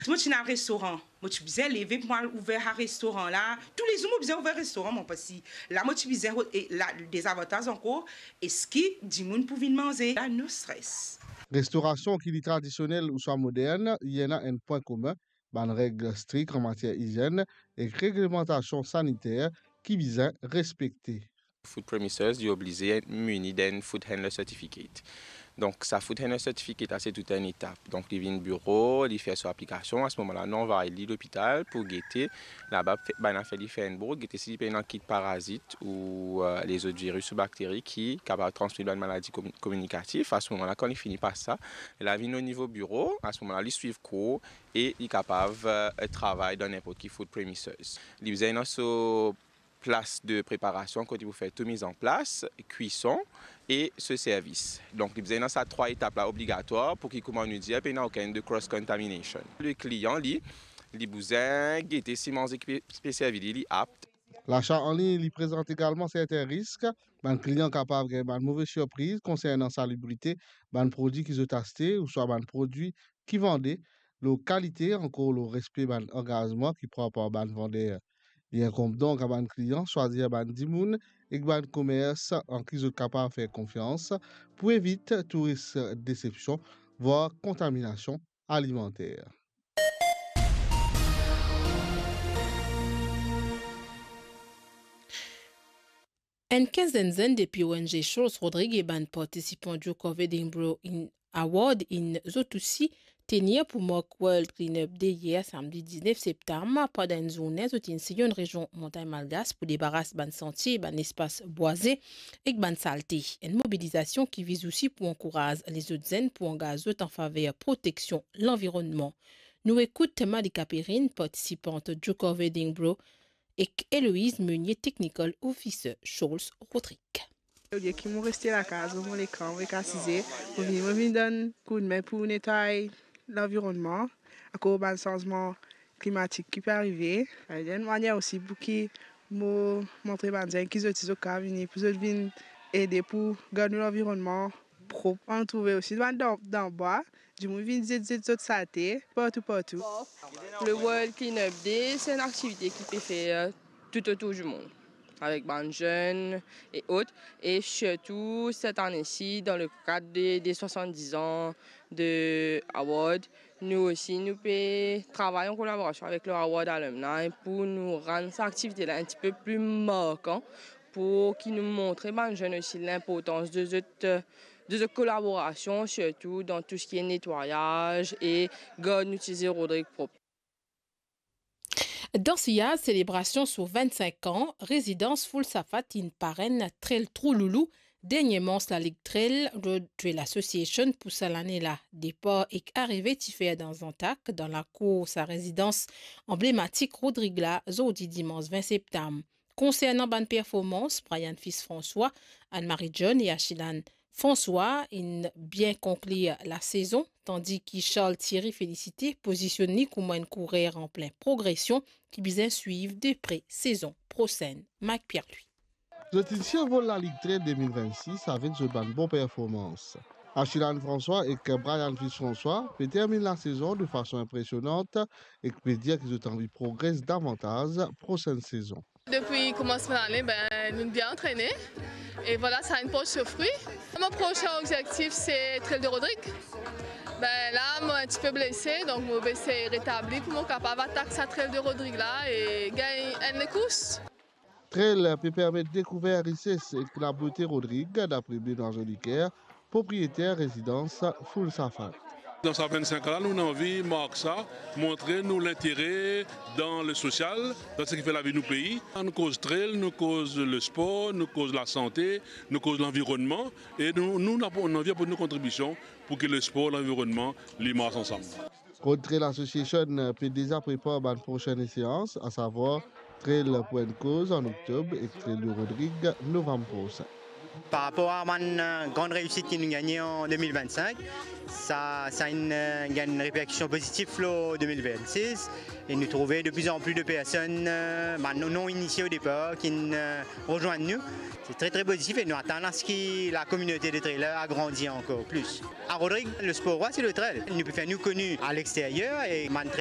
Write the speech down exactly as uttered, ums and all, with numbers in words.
Si mo ti ena restoran, mo ti bizin leve pou mo al ouver sa restoran la. Toulezour mo bizin ouver restoran mwa, parski la mo ti bizin, e la, dezavantaz ankor, eski dimoun pou vinn manze? La, no stres. Restorasion, ki li tradisionel ouswa modern, li ena enn pwin komin, bann reg strik an matier izenn ek reglemantasion saniter ki bizin respekte. Food premises, li oblize mini d'enn food handler certificate. Donk, sa food handler certificate la, se tou enn etap. Donk, li vinn biro, li fer so aplikasion. A se moman la, nou anvway li lopital pou gete laba, fe-, bann afer li fer enn bout, gete si li pena kit parazit ou, eh, lezot viris ou bakteri ki kapav transmet bann maladi komi-, kominikatif. A se moman la, kan li fini pas sa, li vinn o nivo biro. A se moman la, li swiv kour e li kapav, eh, travay dan ninport ki food premises. Li bizin ena so plas de preparasion kot li pou fer tou mizanplas, kwison e so servis. Donk, li bizin ena sa trwa etap la obligatwar pou ki, kouma nou dir, pena okenn de cross contamination. Le klian, li, li bizin gete si manze ki pe, pe servi li, li apt. Lasa an lign, li prezant egalman sertin risk. Bann klian kapav gagn bann move sirpriz konsernan salibrite bann prodwi ki zot aste ouswa bann prodwi ki vande, lor kalite, ankor lor respe bann angazman ki pran par bann vander. Li inkonb donk a bann klian swazir bann dimoun ek bann komers an ki zot kapav fer konfians pou evit tou risk desepsion, vwar kontaminasion alimanter. Enn kinzenn zenn depi O N G Charles Rodrigues e bann partisipan Duke of Edinburgh in Award inn zot osi tenir pou mark World Cleanup Day yer samdi diznef septam. Pandan enn zourne, zot inn siy enn rezion Montagn Malgache pou debaras bann santie, bann lespas bwaze ek bann salte. Enn mobilizasion ki viz osi pou ankouraz lezot zenn pou angaz zot an faver proteksion lanvironnman. Nou ekout Malika Perrine, partisipant Duke of Edinburgh, ek Eloise Meunier, Technical Officer Charles Rodrigues. Olie ki mo reste lakaz, mo lekan, mo ek asize, mo vini, mo vini donn koudme pou netway lanvironnman, akoz bann sanzman klimatik ki pe arive. Enn manier osi pou ki mo montre bann zenn ki zot osi zot kapav vini, pou zot vinn ede pou gard nou lanvironnman prop. Ann trouve osi bann dan, dan bwa, dimoun vinn zet, zet zot salte partou, partou. Le World Cleanup Day, se enn aktivite ki pe fer tou otour dimond, avek bann zenn e ot. E sirtou, set ane si, dan le kad de, de swasann-diz an de Award, nou osi, nou pe travay an kolaborasion avek le Award Alumni pou nou rann sa aktivite la enn tipe pli markan, pou ki nou montre bann zenn osi linportans de zot, de zot kolaborasion, sirtou dan tou seki netwayaz e gard nou ti Zero Rodrigues prop. Dan siyaz selebrasion so vinn-sink an, rezidans Foulsafat inn parenn Trail Trou Loulou, dernie mans Lalig Trail Road Trail Association pou sa lane la. Depar ek arive ti fer dan zantak, dan lakour sa rezidans anblematik Rodrigues la, zordi dimans vin septam. Konsernan bann performans, Brian Fils François, Anne-Marie John e Achilane François inn bien konklir lasezon, tandi ki Charles Thierry Félicité pozisionn li kouma enn kourer an plin progresion ki bizin swiv de pre sezon prosenn. Mike Pierre-Louis. Zot inn sirvol Lalig Trail de mil vinn-sis avek zot bann bon performans. Achilane François ek Brian Fils François pe terminn lasezon de fason inpresionant ek pe dir ki zot anvi progres davantaz prosenn sezon. Depi koumansman lane, ben, nou bien antrene. E vwala, sa inn port so fri. Mo prosin obzektif, se Trail de Rodrigues. Ben, la, mo enn tipe blese, donk mo pe esey retabli pou mo kapav atak sa Trail de Rodrigues la e gagn enn lekours. Trail pe permet dekouver rises ek labote Rodrigues, dapre Benoît Jolicoeur, propriyeter rezidans Foulsafat. Dan sa vinn-sink an la, nou anvi mark sa, montre nou lintere dan le sosial, dan seki fer lavi nou pei. Nou koz trail, nou koz lespor, nou koz lasante, nou koz lanvironnman, e nou, nou, nou anvi aport nou kontribision pou ki lespor, lanvironnman, li mars ansam. Road Trail Association pe deza prepar bann prosenn eseans, asavwar Trail pou enn koz an oktob ek Trail de Rodrigues novam prosin. Par rapor a bann, eh, gran reisit ki nou gagne an de mil vinn-sink, sa, sa inn, eh, gagn reperkision pozitif lor de mil vinn-sis, e nou trouve de pli an pli de personn, eh, bann non, non inisie o depar, ki'nn, eh, rezwenn nou. Se tre, tre pozitif e nou atann a se ki lakominote de trailer agrandi ankor plis. A Rodrigues, lespor rwa se le trail. Nou pe fer nou koni a lexteryer e bann trail